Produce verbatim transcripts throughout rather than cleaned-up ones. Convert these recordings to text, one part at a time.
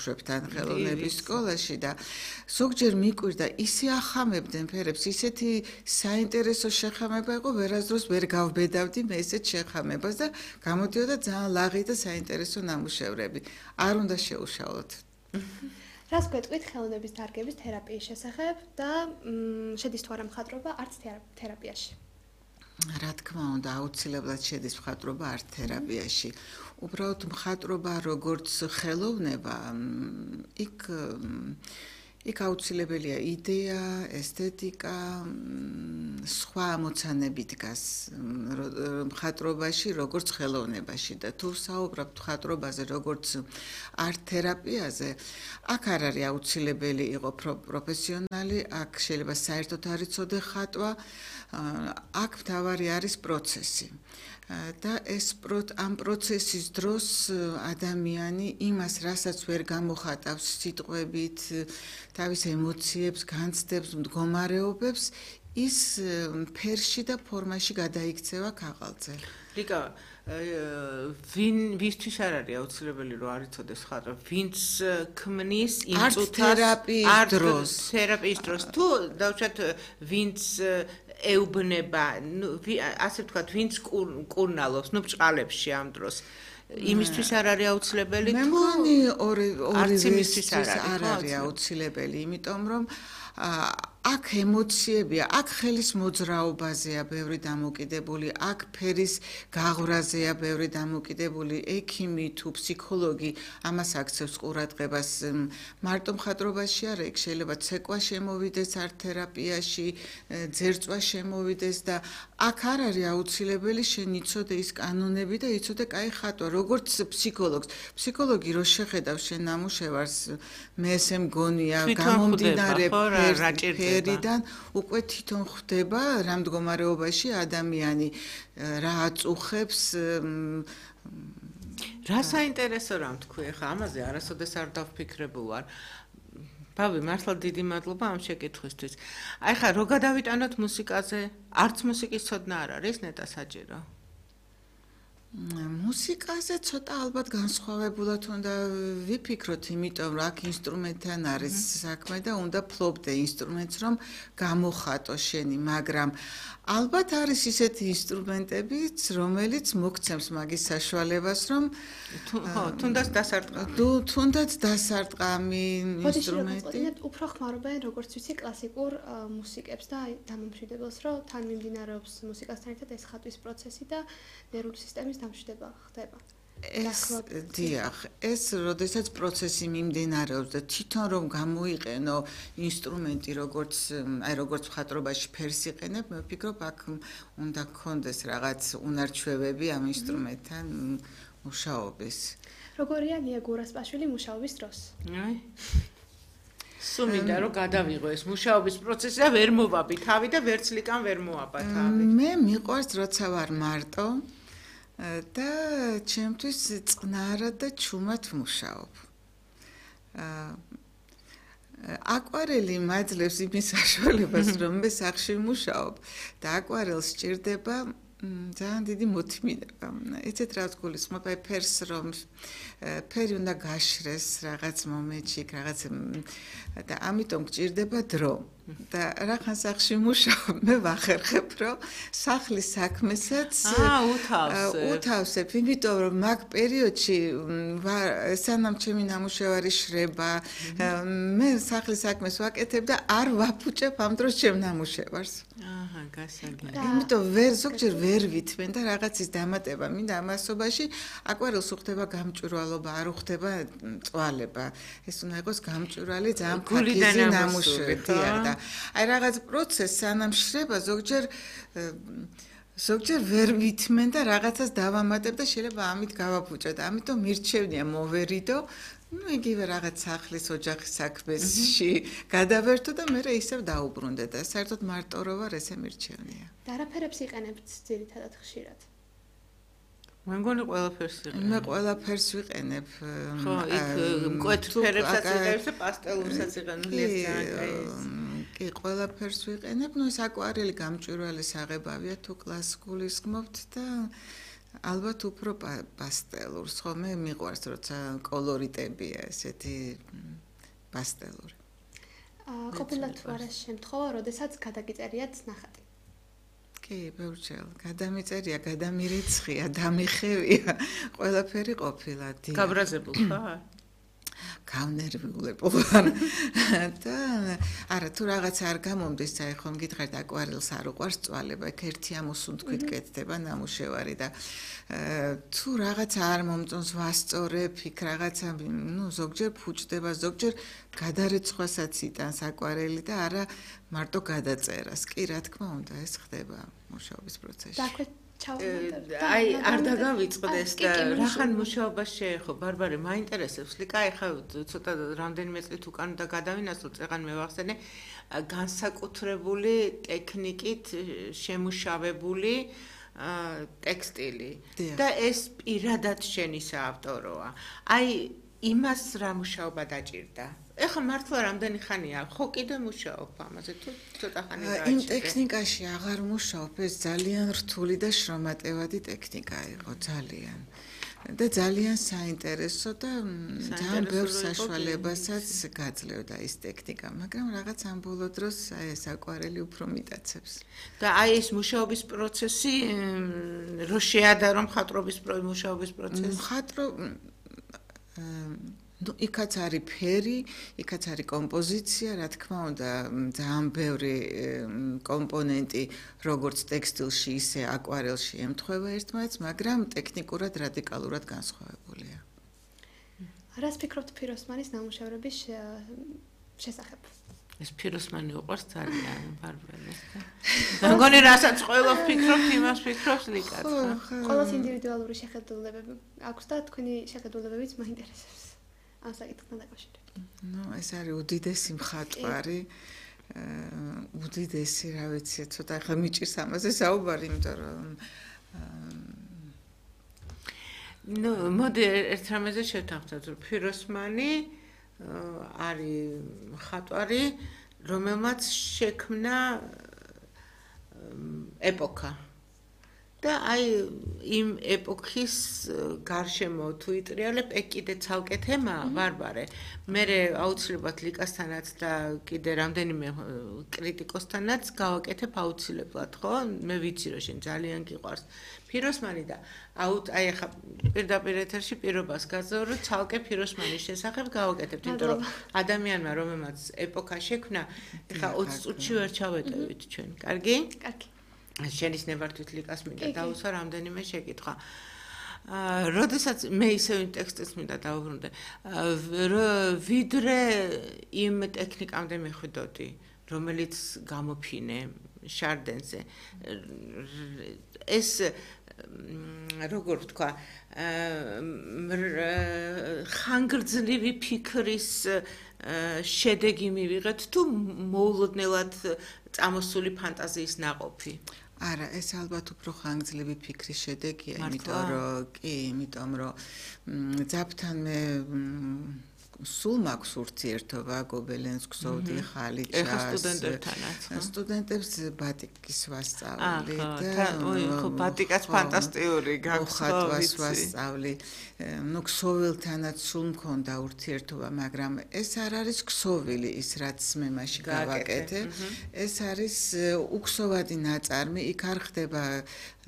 შვებთან ხელოვნების სკოლაში და ზოგჯერ მიკვირდა ისე ახამებდნენ ფერებს, ისეთი საინტერესო შეხამება იყო, ვერასდროს ვერ გავბედავდი მე ესეთ შეხამებას და გამოდიოდა ძალიან ლაღი და საინტერესო ნამუშევრები. არ უნდა შეუშალოთ. რას გვეტყვით ხელოვნების დარგების თერაპიის შესახებ და შედის თუ არა მხატვრობა არც თერაპიაში? რა თქმა უნდა, აუცილებლად შედის მხატვრობა არც თერაპიაში. უბრალოდ მხატვრობა როგორც ხელოვნება, იქ იქ აუცილებელია იდეა, ესთეტიკა, სხვა ამოცანები დგას მხატვრობაში, როგორც ხელოვნებაში და თუ საუბრობთ მხატვრობაზე, როგორც არტ თერაპიაზე, აქ არ არის აუცილებელი იყო პროფესიონალი, აქ შეიძლება საერთოდ არ იცოდე ხატვა, აქ მთავარი არის პროცესი. და ეს ამ პროცესის დროს ადამიანი იმას, რასაც ვერ გამოხატავს სიტყვებით, თავის ემოციებს, განცდებს, მდგომარეობებს, ის ფერში და ფორმაში გადაიქცევა ქაღალდზე. რიკა, ვინ ვისთვის არ არის აუცილებელი რომ არ იცოდეს ხატვა, ვინც ქმნის იმწუთას თერაპიის დროს, თერაპიის დროს თუ დავუშვათ ვინც ეუბნება, ასე ვთქვათ, ვინც კურნალობს, ნუ ბჭყალებში ამ დროს. იმისთვის არ არის აუცილებელი თუ მე მგონი ორი იმისთვის არ არის აუცილებელი, იმიტომ რომ აქ ემოციებია, აქ ხელის მოძრაობაზეა ბევრი დამოკიდებული, აქ ფერის გაღვრაზეა ბევრი დამოკიდებული, ექიმი თუ ფსიქოლოგი ამას აქცევს ყურადღებას. მარტო მხატვრობაში არა, იქ შეიძლება ცეკვა შემოვიდეს არტ თერაპიაში, ძერწვა შემოვიდეს და აქ არ არის აუცილებელი შენ იცოდე ის კანონები და იცოდე კაი ხატვა, როგორც ფსიქოლოგს. ფსიქოლოგი რო შეხედავს შენ ნამუშევარს, მე ესე მგონია, გამომდინარე ფერიდან უკვე თვითონ ხვდება რა მდგომარეობაში ადამიანი რა აწუხებს რა საინტერესო რამ თქვი ახლა ამაზე არასოდეს არ დავფიქრებულ ვარ ბავი მართლა დიდი მადლობა ამ შეკითხვისთვის აი ხა რო გადავიტანოთ მუსიკაზე არც მუსიკის ცოდნა არ არის ნეტა საჭირო მუსიკაზე ცოტა ალბათ განსხვავებულად უნდა ვიფიქროთ, იმიტომ რომ აქ ინსტრუმენტთან არის საქმე და უნდა ფლობდე ინსტრუმენტს, რომ გამოხატო შენი, მაგრამ ალბათ არის ისეთი ინსტრუმენტებიც, რომელიც მოგცემს მაგის საშუალებას, რომ ხო, თუნდაც დასარტყამი. თუნდაც დასარტყამი ინსტრუმენტი. უფრო ხმარობენ, როგორც ვიცი, კლასიკურ მუსიკებს და დამამშვიდებელს, რომ თან მიმდინარეობს მუსიკასთან ერთად ეს ხატვის პროცესი და ნერვული სისტემის დამშვიდება ხდება. ეს დიახ, ეს როდესაც პროცესი მიმდინარეობს და თვითონ რომ გამოიყენო ინსტრუმენტი, როგორც აი როგორც მხატვრობაში ფერს იყენებ, მე ვფიქრობ, აქ უნდა გქონდეს რაღაც უნარჩვევები ამ ინსტრუმენტთან მუშაობის. როგორია ნია გურასპაშვილი მუშაობის დროს? აი სულ მინდა რომ გადავიღო ეს მუშაობის პროცესი და ვერ მოვაბი თავი და ვერც ლიკან ვერ მოაბა თავი. მე მიყვარს როცა ვარ მარტო და ჩემთვის წყნარად და ჩუმად ვმუშაობ. აკვარელი მაძლევს იმის საშუალებას, რომ მე სახლში ვმუშაობ და აკვარელს სჭირდება ძალიან დიდი მოთმინება. იცით რა გულისხმობ, აი ფერს რომ ფერი უნდა გაშრეს რაღაც მომენტში, რაღაც და ამიტომ გჭირდება დრო. და რახან სახლში მუშაობ, მე ვახერხებ, რომ სახლის საქმესაც უთავსებ, იმიტომ რომ მაგ პერიოდში სანამ ჩემი ნამუშევარი შრება, მე სახლის საქმეს ვაკეთებ და არ ვაფუჭებ ამ დროს ჩემ ნამუშევარს. აჰა, გასაგებია. იმიტომ ვერ ზოგჯერ ვერ ვითმენ და რაღაცის დამატება მინდა ამასობაში, აკვარელს უხდება გამჭვირვალობა, არ უხდება წვალება. ეს უნდა იყოს გამჭვირვალე, ძალიან ფაქიზი ნამუშევარი და აი რაღაც პროცესს სანამ შრება ზოგჯერ ზოგჯერ ვერ ვითმენ და რაღაცას დავამატებ და შეიძლება ამით გავაფუჭო და ამიტომ მირჩევნია მოვერიდო ну იგივე რაღაც სახლის ოჯახის საქმეში გადავერთო და მე ისევ დაუბრუნდე და საერთოდ მარტო რო ვარ ესე მირჩევნია. და რა ფერებს იყენებთ ძირითადად ხშირად? მე მგონი ყველაფერს ვიყენებ. მე ყველაფერს ვიყენებ. ხო, იქ მკვეთრ ფერებსაც ვიყენებ და პასტელურსაც ვიყენებ, ძალიან კაი. კი, ყველაფერს ვიყენებ. ნუ ეს აკვარელი გამჭვირვალე საღებავია თუ კლასიკულის გმობთ და ალბათ უფრო პასტელურს, ხოლმე მიყვარს, როცა კოლორიტებია, ესეთი პასტელური. აა, ყოფილად თუ არა შემთხვევა, როდესაც გადაგიწერიათ ნახატი. კი, ბევრჯერ. გადამიწერია, გადამირიცხია, დამიხევია, ყველაფერი ყოფილა. გაბრაზებულ ხარ? გავნერვიულებ ვარ და არა თუ რაღაც არ გამომდის, აი ხომ გითხარით აკვარელს არ უყვარს წვალება, ეგ ერთი ამოსუნ თქვით კეთდება ნამუშევარი და თუ რაღაც არ მომწონს ვასწორებ, იქ რაღაცა, ნუ ზოგჯერ ფუჭდება, ზოგჯერ გადარეცხვასაც იტანს აკვარელი და არა მარტო გადაწერას. კი, რა თქმა უნდა, ეს ხდება მუშაობის პროცესში. აი არ დაგავიწყდეს და რახან მუშაობას შეეხო ბარბარე მაინტერესებს ლიკა ეხა ცოტა რამდენიმე წლით უკან და გადავინასწრო წეღან მევახსენე განსაკუთრებული ტექნიკით შემუშავებული ტექსტილი და ეს პირადად შენი საავტოროა აი იმას რა მუშაობა დაჭირდა ეხლა მართლა რამდენი ხანია ხო კიდე მუშაობ ამაზე თუ ცოტა ხანი გააჩერე იმ ტექნიკაში აღარ მუშაობ ეს ძალიან რთული და შრომატევადი ტექნიკა იყო ძალიან და ძალიან საინტერესო და ძალიან ბევრ საშუალებასაც გაძლევდა ის ტექნიკა მაგრამ რაღაც ამ ბოლო დროს აი ეს აკვარელი უფრო მიტაცებს და აი ეს მუშაობის პროცესი რო შეადარო მხატვრობის მუშაობის პროცესი მხატვრო ну იქაც არის ფერი, იქაც არის კომპოზიცია, რა თქმა უნდა, ძალიან ბევრი კომპონენტი, როგორც ტექსტილში, ისე აკვარელში ემთხვევა ერთმანეთს, მაგრამ ტექნიკურად რადიკალურად განსხვავებულია. რას ფიქრობთ ფიროსმანის ნამუშევრების შესახებ? ეს ფიროსმანი უყვარს ძალიან ბარბარეს და მგონი რასაც ყველა ფიქრობთ, იმას ფიქრობს ლიკაც. ყოველს ინდივიდუალური შეხედულებები აქვს და თქვენი შეხედულებებიც მაინტერესებს. ამ საკითხთან დაკავშირებით. ნუ ეს არის უდიდესი მხატვარი. უდიდესი, რა ვიცი, ცოტა ხა მიჭირს ამაზე საუბარი, იმიტომ რომ ნუ მოდი ერთ რამეზე შევთანხმდეთ, რომ ფიროსმანი არის მხატვარი, რომელმაც შექმნა ეპოქა. და აი იმ ეპოქის გარშემო თუ იტრიალებ, ეგ კიდე ცალკე თემაა, ბარბარე. მე აუცილებლად ლიკასთანაც და კიდე რამდენიმე კრიტიკოსთანაც გავაკეთებ აუცილებლად, ხო? მე ვიცი რომ შენ ძალიან გიყვარს ფიროსმანი და აუტ აი ახლა პირდაპირ ეთერში პირობას გაზრდო რომ ცალკე ფიროსმანის შესახებ გავაკეთებ, იმიტომ რომ ადამიანმა რომელმაც ეპოქა შექმნა, ახლა ოცი წუთში ვერ ჩავეტევით ჩვენ. კარგი? კარგი. შენის ნებართვით ლიკას მინდა დაუსვა რამდენიმე შეკითხვა. აა, როდესაც მე ისევ ტექსტს მინდა დავუბრუნდე, ვიდრე იმ ტექნიკამდე მიხვიდოდი, რომელიც გამოფინე შარდენზე. ეს როგორ ვთქვა, ხანგრძლივი ფიქრის შედეგი მივიღეთ თუ მოულოდნელად წამოსული ფანტაზიის ნაყოფი? არა, ეს ალბათ უფრო ხანგრძლივი ფიქრის შედეგია, იმიტომ რომ კი, იმიტომ რომ ძაბთან მე სულ მაქვს ურთიერთობა გობელენს გსოვდი ხალიჩას. ეხა სტუდენტებთანაც. სტუდენტებს ბატიკის ვასწავლი და ой, ხო ბატიკაც ფანტასტიკური გაქვს ხატვას ვასწავლი. ნუ ქსოვილთანაც სულ მქონდა ურთიერთობა, მაგრამ ეს არ არის ქსოვილი ის რაც მე მაშინ გავაკეთე. ეს არის უქსოვადი ნაწარმი, იქ არ ხდება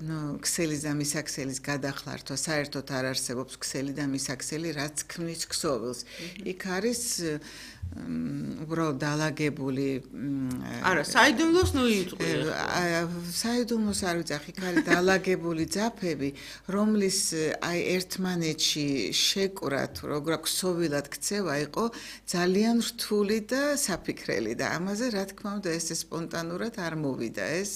ნუ ქსელის და მისაქსელის გადახლართვა, საერთოდ არ არსებობს ქსელი და მისაქსელი, რაც ქმნის ქსოვილს. იქ არის უბრალოდ დალაგებული არა, საიდუმლოს ნუ იწყე. საიდუმლოს არ ვიცახ, იქ არის დალაგებული ძაფები, რომლის აი ერთმანეთში შეკვრა თუ როგორ ქსოვილად ქცევა იყო ძალიან რთული და საფიქრელი და ამაზე რა თქმა უნდა ეს სპონტანურად არ მოვიდა. ეს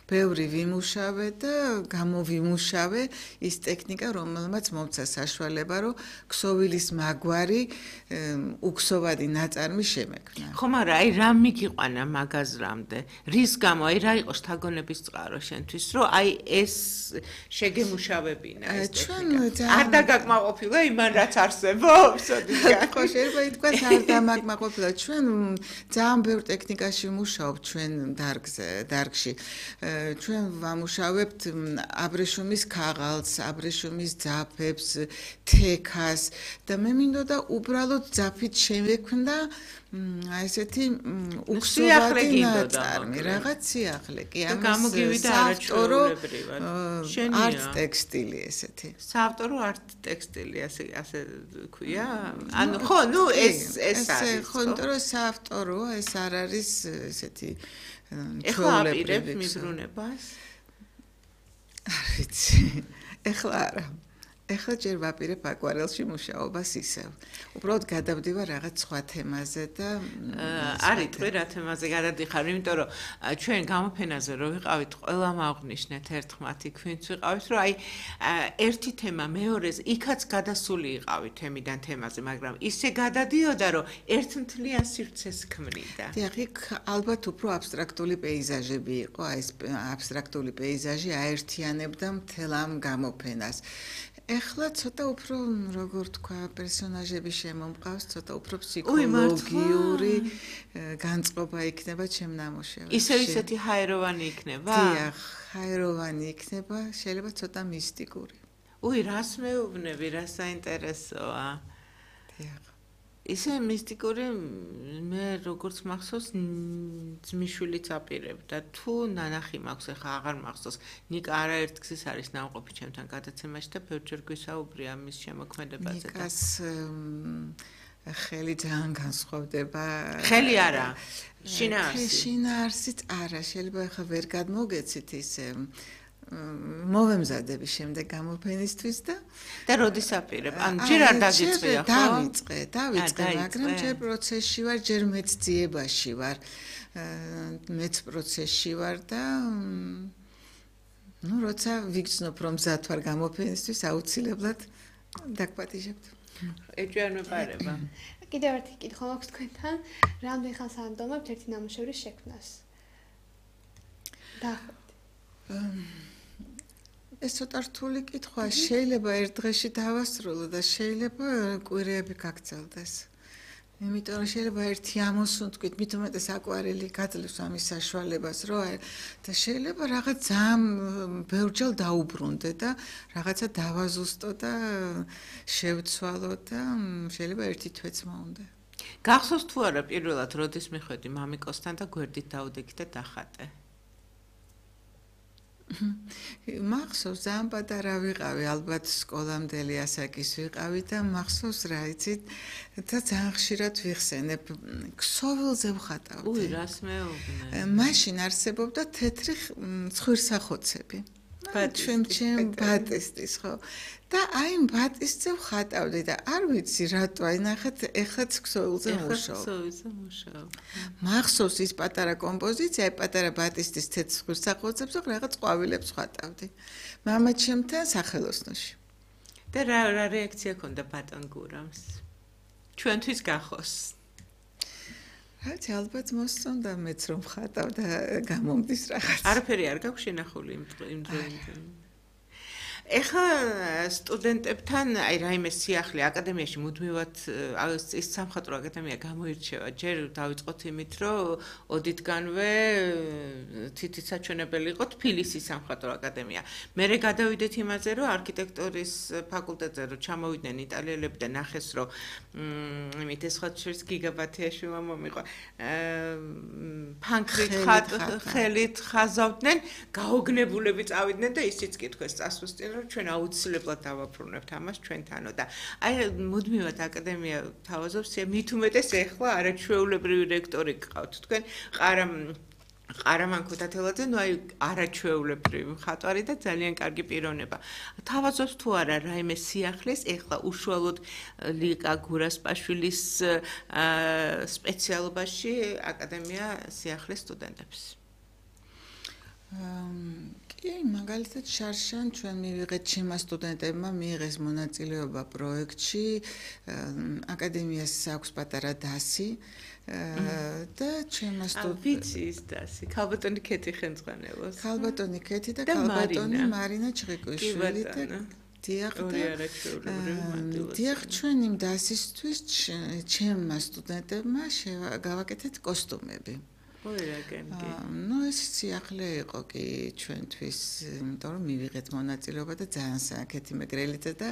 ბევრი ვიმუშავე და გამოვიმუშავე ის ტექნიკა, რომელმაც მომცა საშუალება, რომ ქსოვილის მაგვარი უქსოვადი ნაწ ნაწარმი შემექმნა. ხო, მაგრამ აი რა მიგიყვანა მაგაზრამდე? რის გამო აი რა იყო შთაგონების წყარო შენთვის, რომ აი ეს შეგემუშავებინა ეს ტექნიკა? არ დაგაკმაყოფილა იმან რაც არსებობს? ხო, შეიძლება ითქვას არ დამაკმაყოფილა. ჩვენ ძალიან ბევრ ტექნიკაში ვმუშაობთ ჩვენ დარგზე, დარგში. ჩვენ ვამუშავებთ აბრეშუმის ქაღალდს, აბრეშუმის ძაფებს, თექას და მე მინდოდა უბრალოდ ძაფით შემექმნა აი ესეთი უქსოვადი ნაწარმი, რაღაც სიახლე კი ამის საავტორო არტ ტექსტილი ესეთი. საავტორო არტ ტექსტილი ასე ასე ქვია? ანუ ხო, ნუ ეს ეს არის. ხო, იმიტომ რომ საავტორო ეს არ არის ესეთი ეხლა აპირებ მიზრუნებას? არ ვიცი. ეხლა არა. ეხლა ჯერ ვაპირებ აკვარელში მუშაობას ისევ. უბრალოდ გადავდივარ რაღაც სხვა თემაზე და არის თქვი რა თემაზე გადადიხარ, იმიტომ რომ ჩვენ გამოფენაზე რო ვიყავით, ყველა მაღვნიშნეთ ერთხმათ იქ ვინც ვიყავით, რომ აი ერთი თემა მეორეს იქაც გადასული იყავით თემიდან თემაზე, მაგრამ ისე გადადიოდა, რომ ერთმთლიან სივრცეს ქმნიდა. დიახ, იქ ალბათ უფრო აბსტრაქტული პეიზაჟები იყო, აი ეს აბსტრაქტული პეიზაჟი აერთიანებდა მთელ ამ გამოფენას. ეხლა ცოტა უფრო როგორ თქვა პერსონაჟები შემომყავს, ცოტა უფრო ფსიქოლოგიური განწყობა იქნება ჩემ ნამუშევრში. ისევ ისეთი ჰაეროვანი იქნება? დიახ, ჰაეროვანი იქნება, შეიძლება ცოტა მისტიკური. უი, რას მეუბნები, რა საინტერესოა. დიახ. ისე მისტიკური მე როგორც მახსოვს ძმისშვილიც აპირებდა თუ ნანახი მაქვს ახლა აღარ მახსოვს ნიკა არაერთგზის არის ნამყოფი ჩემთან გადაცემაში და ბევრჯერ გვისაუბრია მის შემოქმედებაზე და ნიკას ხელი ძალიან განსხვავდება ხელი არა შინაარსი შინაარსიც არა შეიძლება ახლა ვერ გადმოგეცით ისე მოვემზადები შემდეგ გამოფენისთვის და და როდის აპირებ? ან ჯერ არ დაგიწყია ხო? დავიწყე, დავიწყე, მაგრამ ჯერ პროცესში ვარ, ჯერ მეცდიებაში ვარ. მეც პროცესში ვარ და ну, როცა ვიგრძნობ რომ მზად ვარ გამოფენისთვის, აუცილებლად დაგპატიჟებთ. ეჭვიან მეპარება. კიდევ ერთი კითხვა მაქვს თქვენთან, რამდენ ხანს ანდომებთ ერთი ნამუშევრის შექმნას? დაახლოებით. ეს ცოტა რთული კითხვაა, შეიძლება ერთ დღეში დავასრულო და შეიძლება კვირეები გაგრძელდეს. იმიტომ რომ შეიძლება ერთი ამოსუნ თქვით, მით უმეტეს აკვარელი გაძლევს ამის საშუალებას, რომ და შეიძლება რაღაც ძალიან ბევრჯერ დაუბრუნდე და რაღაცა დავაზუსტო და შევცვალო და შეიძლება ერთი თვეც მოუნდა. გახსოვს თუ არა პირველად როდის მიხვედი მამიკოსთან და გვერდით დაუდექი და დახატე? მახსოვს ძალიან პატარა ვიყავი, ალბათ სკოლამდელი ასაკის ვიყავი და მახსოვს რა იცით და ძალიან ხშირად ვიხსენებ ქსოვილზე ვხატავდი. უი, რას მეუბნე? მაშინ არსებობდა თეთრი ცხვირსახოცები. ჩვენ ჩემ ბატისტის ხო და აი იმ ბატისტზე ვხატავდი და არ ვიცი რატო აი ნახეთ ეხლაც ქსოვილზე მუშაობ. ქსოვილზე მუშაობ. მახსოვს ის პატარა კომპოზიცია, აი პატარა ბატისტის თეთრ ცხვირსახოცებს და რაღაც ყვავილებს ვხატავდი. მამა ჩემთან სახელოსნოში. და რა რა რეაქცია ქონდა ბატონ გურამს? ჩვენთვის გახოს. რაც ალბათ მოსწონდა მეც რომ ხატავ და გამომდის რაღაც. არაფერი არ გაქვს შენახული იმ იმ დროინდ. ეხლა სტუდენტებთან აი რაიმე სიახლე აკადემიაში მუდმივად ის სამხატვრო აკადემია გამოირჩევა. ჯერ დავიწყოთ იმით, რომ ოდითგანვე თითით საჩვენებელი იყო თბილისის სამხატვრო აკადემია. მერე გადავიდეთ იმაზე, რომ არქიტექტურის ფაკულტეტზე რომ ჩამოვიდნენ იტალიელები და ნახეს, რომ იმით ეს სხვა შორის გიგაბათიაშვილმა მომიყვა. ფანქრით ხელით ხაზავდნენ, გაოგნებულები წავიდნენ და ისიც კითხვეს წასვისწინ ჩვენ აუცილებლად დავაბრუნებთ ამას ჩვენთანო და აი მუდმივად აკადემია თავაზობს მით უმეტეს ეხლა არაჩვეულებრივი რექტორი გყავთ თქვენ ყარამ ყარამან ქუთათელაძე ნუ აი არაჩვეულებრივი მხატვარი და ძალიან კარგი პიროვნება თავაზობს თუ არა რაიმე სიახლეს ეხლა უშუალოდ ლიკა გურასპაშვილის სპეციალობაში აკადემია სიახლეს სტუდენტებს კი, მაგალითად შარშან ჩვენ მივიღეთ ჩემმა სტუდენტებმა მიიღეს მონაწილეობა პროექტში, აკადემიას აქვს პატარა დასი და ჩემმა სტუდენტ ვიცი ის დასი, ქალბატონი ქეთი ხელმძღვანელობს. ქალბატონი ქეთი და ქალბატონი მარინა ჩხიკვიშვილი და დიახ დიახ ჩვენ იმ დასისთვის ჩემმა სტუდენტებმა გავაკეთეთ კოსტუმები. ნუ ეს სიახლე იყო კი ჩვენთვის, იმიტომ რომ მივიღეთ მონაწილეობა და ძალიან საკეთი მეგრელიძე და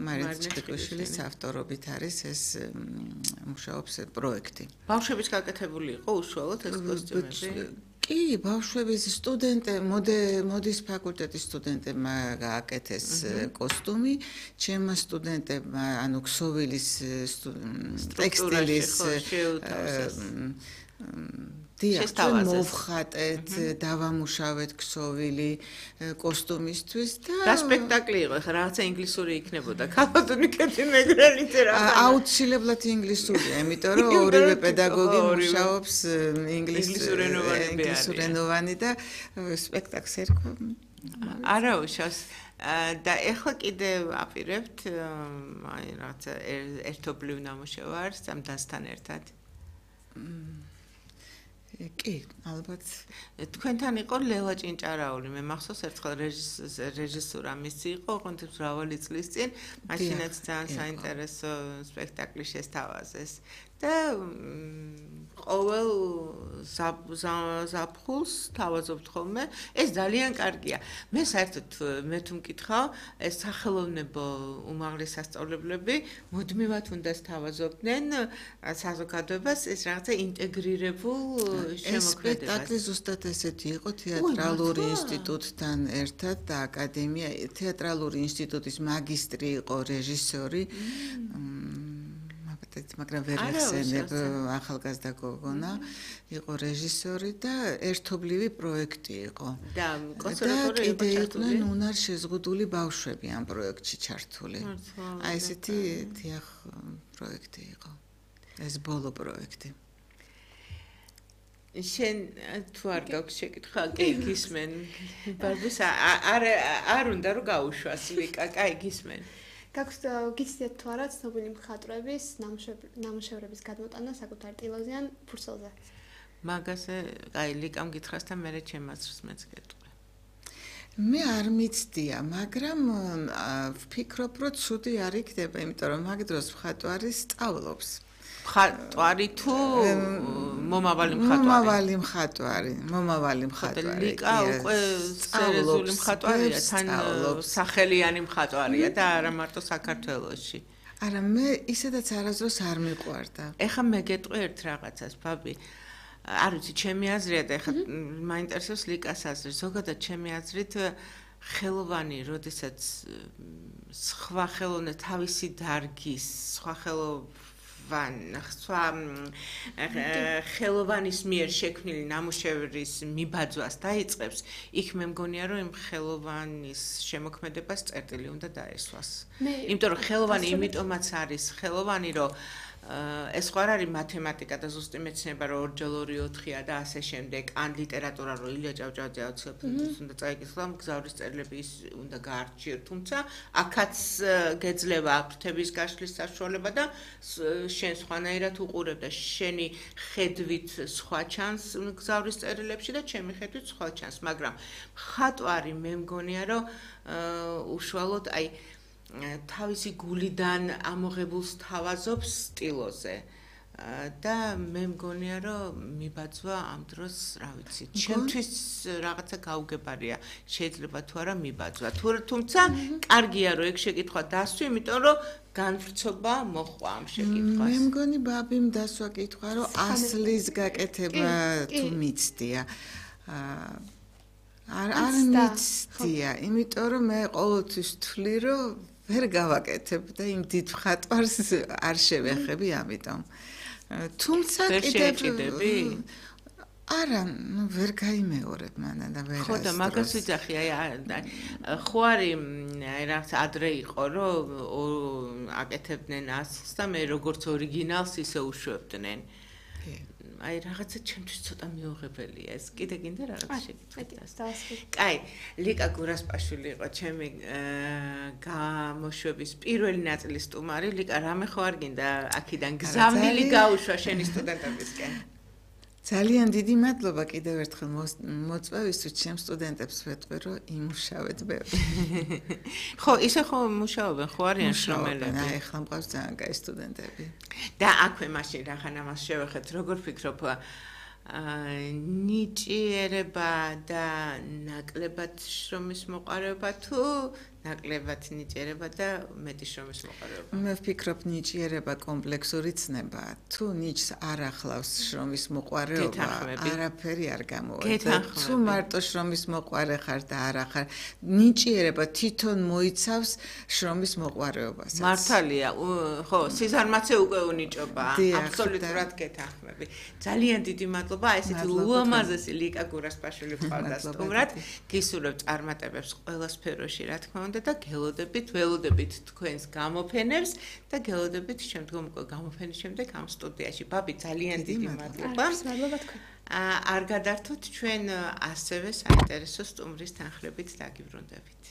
მარინა ჩხიკვიშვილის ავტორობით არის ეს მუშაობს პროექტი. ბავშვების გაკეთებული იყო უშუალოდ ეს კოსტუმები? კი, ბავშვების სტუდენტე, მოდის ფაკულტეტის სტუდენტებმა გააკეთეს კოსტუმი, ჩემმა სტუდენტებმა, ანუ ქსოვილის ტექსტილის დიახ, მოვხატეთ, დავამუშავეთ ქსოვილი კოსტუმისთვის და რა სპექტაკლი იყო, ხა რაღაცა ინგლისური იქნებოდა, ქალბატონი ქეთი მეგრელიძე რა. აუცილებლად ინგლისურია, იმიტომ რომ ორივე პედაგოგი მუშაობს ინგლისურენოვანი და სპექტაკლს ერქვა. არა უშავს და ეხლა კიდევ აპირებთ აი რაღაცა ერთობლივ ნამუშევარს ამ დასთან ერთად. კი, ალბათ. თქვენთან იყო ლელა ჭინჭარაული. მე მახსოვს ერთხელ რეჟისურა მისი იყო, ოღონდ მრავალი წლის წინ, მაშინაც ძალიან საინტერესო სპექტაკლი შესთავაზეს. და ყოველ ზაფხულს თავაზობთ ხოლმე. ეს ძალიან კარგია. მე საერთოდ მე თუ მკითხავ, ეს სახელოვნებო უმაღლეს სასწავლებლები მუდმივად უნდა თავაზობდნენ საზოგადოებას ეს რაღაცა ინტეგრირებულ შემოქმედებას. ეს სპექტაკლი ზუსტად ესეთი იყო თეატრალური ინსტიტუტთან ერთად და აკადემია თეატრალური ინსტიტუტის მაგისტრი იყო რეჟისორი. მაგრამ ვერ ახსენებ ახალგაზრდა გოგონა იყო რეჟისორი და ერთობლივი პროექტი იყო. და კონსერვატორია იყო იყვნენ უნარ შეზღუდული ბავშვები ამ პროექტში ჩართული. აი ესეთი დიახ პროექტი იყო. ეს ბოლო პროექტი. შენ თუ არ გაქვს შეკითხვა, კი გისმენ. ბარბის არ არ უნდა რომ გაუშვას ლიკა, კაი გისმენ. გაქვს გიცდეთ თუ არა ცნობილი მხატვრების ნამუშევრების გადმოტანა საკუთარ ტილოზე ან ფურცელზე? მაგაზე აი ლიკამ გითხრას და მე ჩემაცრს მეც გეტყვი. მე არ მიცდია, მაგრამ ვფიქრობ, რომ ცუდი არ იქნება, იმიტომ რომ მაგ დროს მხატვარი სწავლობს. მხატვარი თუ მომავალი მხატვარი? მომავალი მხატვარი, მომავალი მხატვარი. ლიკა უკვე სერიოზული მხატვარია, თან სახელიანი მხატვარია და არა მარტო საქართველოში. არა, მე ისედაც არასდროს არ მიყვარდა. ეხლა მე გეტყვი ერთ რაღაცას, ბაბი. არ ვიცი, ჩემი აზრია და ეხლა მაინტერესებს ლიკას აზრი. ზოგადად ჩემი აზრით ხელოვანი, როდესაც სხვა ხელოვნა თავისი დარგის, სხვა ხელოვნა ვან სხვა ხელოვანის მიერ შექმნილი ნამუშევრის მიბაძვას დაიწყებს, იქ მე მგონია რომ იმ ხელოვანის შემოქმედებას წერტილი უნდა დაესვას. იმიტომ რომ ხელოვანი იმიტომაც არის ხელოვანი, რომ ეს ხო არ არის მათემატიკა და ზუსტი მეცნება, რომ ორჯერ ორი ოთხია და ასე შემდეგ, ან ლიტერატურა, რომ ილია ჭავჭავაძე აუცილებლად უნდა წაიკითხა, მგზავრის წერილები უნდა გაარჩიოთ, თუმცა აქაც გეძლევა ფრთების გაშლის საშუალება და შენ სხვანაირად უყურებ და შენი ხედვით სხვა ჩანს მგზავრის წერილებში და ჩემი ხედვით სხვა ჩანს, მაგრამ მხატვარი მე მგონია, რომ უშუალოდ აი თავისი გულიდან ამოღებულს თავაზობს სტილოზე და მე მგონია რომ მიბაძვა ამ დროს რა ვიცი ჩემთვის რაღაცა გაუგებარია შეიძლება თუ არა მიბაძვა თუმცა კარგია რომ ეგ შეკითხვა დასვი იმიტომ რომ განვრცობა მოხვა ამ შეკითხვას მე მგონი ბაბიმ დასვა კითხვა რომ ასლის გაკეთება თუ მიცდია არ არ მიცდია იმიტომ რომ მე ყოველთვის ვთვლი რომ ვერ გავაკეთებ და იმ დიდ მხატვარს არ შევეხები ამიტომ თუმცა კიდევ არა ნუ ვერ გაიმეორებ მანდა და ვერ ხო და მაგას ვიძახი აი ხო არის აი რაღაც ადრე იყო რომ აკეთებდნენ ასლს და მე როგორც ორიგინალს ისე უშვებდნენ აი რაღაცა ჩემთვის ცოტა მიუღებელია ეს. კიდე გინდა რაღაც შეკითხვა? კაი, ლიკა გურასპაშვილი იყო ჩემი გამოშვების პირველი ნაწილის სტუმარი. ლიკა, რამე ხო არ გინდა აქიდან გზავნილი გაუშვა შენი სტუდენტებისკენ? ძალიან დიდი მადლობა კიდევ ერთხელ მოწვევისთვის ჩემ სტუდენტებს ვეთქვი რომ იმუშავეთ ბევრი. ხო, ისე ხო მუშაობენ, ხო არიან შრომელები. აი, ახლა მყავს ძალიან კაი სტუდენტები. და აქვე მაშინ რახან ამას შევეხეთ, როგორ ფიქრობ, ნიჭიერება და ნაკლებად შრომის მოყარეობა თუ ნაკლებად ნიჭიერება და მეტი შრომის მოყარეობა? მე ვფიქრობ, ნიჭიერება კომპლექსური ცნებაა. თუ ნიჭს არ ახლავს შრომის მოყარეობა, არაფერი არ გამოვა. თუ მარტო შრომის მოყარე ხარ და არა ხარ, ნიჭიერება თვითონ მოიცავს შრომის მოყარეობასაც. მართალია, ხო, სიზარმაცე უკვე უნიჭობაა. აბსოლუტურად გეთანხმები. ძალიან დიდი მადლობა, ესეთი უამაზესი ლიკა გურასპაშვილი ვყავდა სტუმრად. გისურვებთ წარმატებებს ყველა სფეროში, რა თქმა უნდა. და გელოდებით, ველოდებით თქვენს გამოფენებს და გელოდებით შემდგომ უკვე გამოფენის შემდეგ ამ სტუდიაში. ბაბი, ძალიან დიდი მადლობა. მადლობა თქვენ. არ გადართოთ ჩვენ ასევე საინტერესო სტუმრის თანხლებით დაგიბრუნდებით.